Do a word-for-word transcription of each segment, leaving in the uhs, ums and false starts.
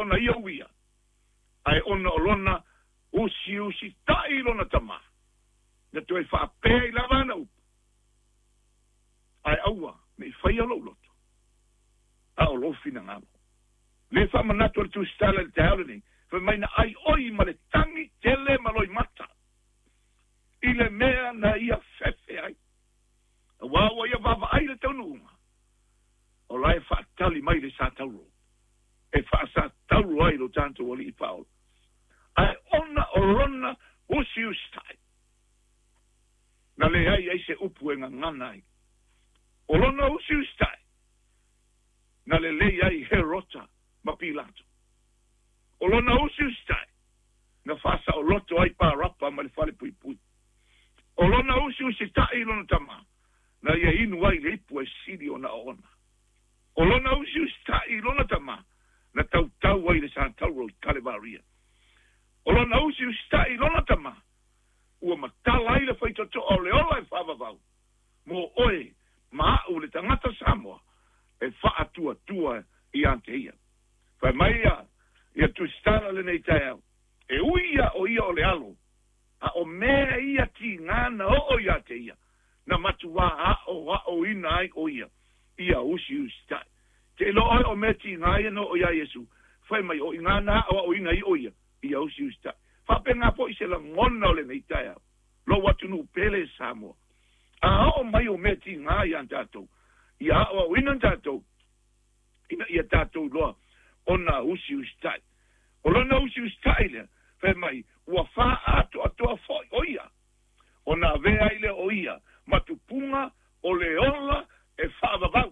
ona ia uia, ae ona o lona usiusita'i lona tamā, na toe faapea ai lava ana upu, ae aua ne i faia lou loto, a o lou finagalo. Le faamanatu o le tusitala i le taeao lenei, fai mai na ai oi ma le tagi tele ma loimata, i le mea na ia fefe ai. Auā ua ia vaavaai le taunuuga, o la e faatali mai le satauro, e faasatauro ai lo tatou alii Paolo. Ae ona o lona usiusitai, na leai ai se upu e gagana ai. O lona usiusitai, na lelei ai Herota ma Pilato. O lona usiusitai, na faasaoloto ai Parapa ma le falepuipui. O lona usiusitai i lona tamā, na ia inu ai le ipu e sili ona oona. O lona usiusitai i lona tamā, na tautau ai le satauro i Kalevaria. O lona usiusitai i lona tamā, ua matala ai le faitotoa o le ola e faavavau, mo oe ma a'u le tagata Samoa e faatuatua ia te ia. Fai mai ia, ia tusitala lenei taeao, e ui ia o ia o le alo, a o mea ia tigā na oo ia te ia, na matuā aʻoaʻoina ai o ia, ia usiusitai. Te iloa oe o mea tigā ia na oo iā Iesu, fai mai o igā na aʻoaʻoina ai o ia, ia usiusitai. Faapegā foʻi se lagona o lenei taeao, lou atunuu pele Samoa. A oo mai o mea tigā iā tatou, ia aʻoaʻoina tatou, ina ia tatou iloa ona usiusitai. O lona usiusitai lea, fai mai, ua faaatoatoa foʻi o ia, ona avea ai lea o ia, ma tupuga o le ola e faavavau,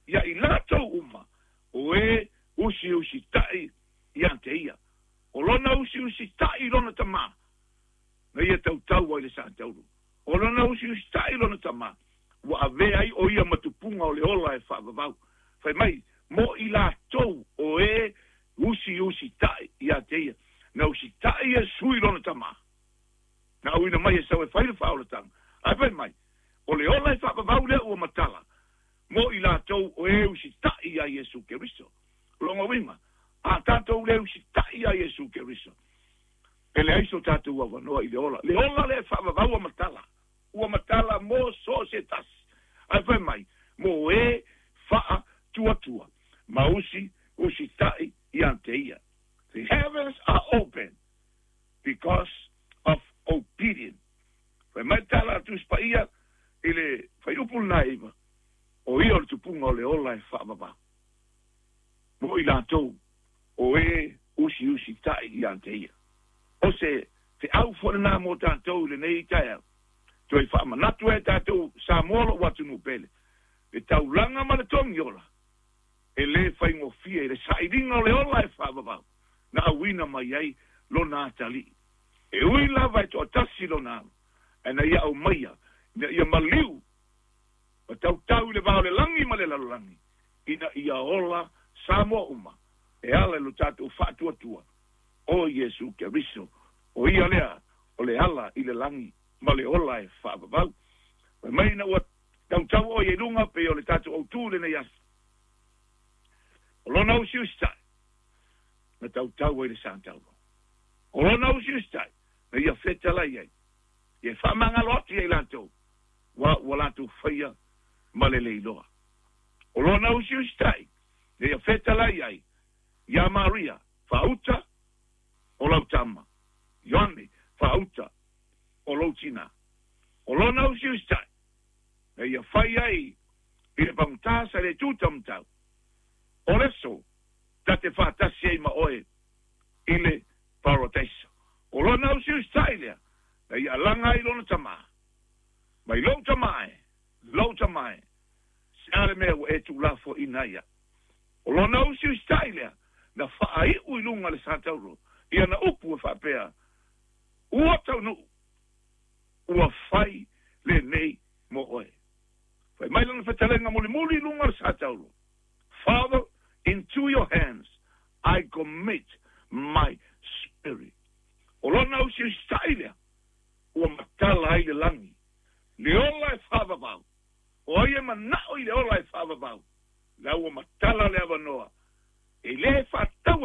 ia i latou uma, o e usiusita'i ia te ia. O lona usiusita'i lona tamā, na ia tautau ai le satauro. O lona usiusita'i lona tamā, ua avea ai o ia ma tupuga o le ola e faavavau. Fai mai, mo i latou o e usiusita'i ia te ia. Na usita'i Iesu i lona tamā, na auina mai e sau e fai le faaolataga. Ae fai mai, o le ola e faavavau lea ua matala, mo i latou o e usita'i iā Iesu Keriso. Lona uiga, a tatou le usita'i iā Iesu Keriso, e leai so tatou avanoa i le ola. Le ola lea e faavavau ua matala, ua matala mo so o se tasi. Ae fai mai, mo e faatuatua, ma usi usita'i ia te ia. The heavens are open because of obedience. Fai mai le tala a Tusi Paia i le fuaiupu lena e iva, o ia o le tupuga o le ola e faavavau, mo i latou o e usiusita'i ia te ia. O se feau foi lenā mo tatou i lenei taeao, toe faamanatu ai e tatou Samoa lou atunuu pele, le taulaga ma le togiola, e lē faigofie i le sailiga o le ola e faavavau, na auina mai ai lona atalii. E ui lava e toatasi lona alo, ae na ia aumaia, ina ia maliu, ma tautau i le va o le lagi ma le lalolagi, ina ia ola Samoa uma, e ala i lo tatou faatuatua, o Iesu Keriso, o ia lea o le ala i le lagi ma le ola e faavavau. Fai mai ina ua tautau oe i luga pei o le tatou autū i lenei aso, o lona usiusitai, na tautau ai le satauro. O lona usiusitai, na ia fetalai ai, ia faamagalo atu ia i latou, ua ua latou faia ma le le iloa. O lona usiusitai, na ia fetalai ai iā Maria, faauta o lau tama, Ioane, faauta o lou tinā. O lona usiusitai, na ia fai ai i le pagotā sa le tūtaumatau, o le aso ta te faatasi ai ma oe i le Paradise. O lona usiusitai lea, na ia alaga ai lona tamā, mai lou tamā e, lou tamā e, se a le mea ua e tuulafoaiina ai au. O lona usiusitai lea, na faaiu i luga le satauro, i ana upu e faapea, Ua taunuu, ua fai lenei mo oe. Fai mai lana fetalaiga mulimuli i luga o le satauro, Father, into your hands I commit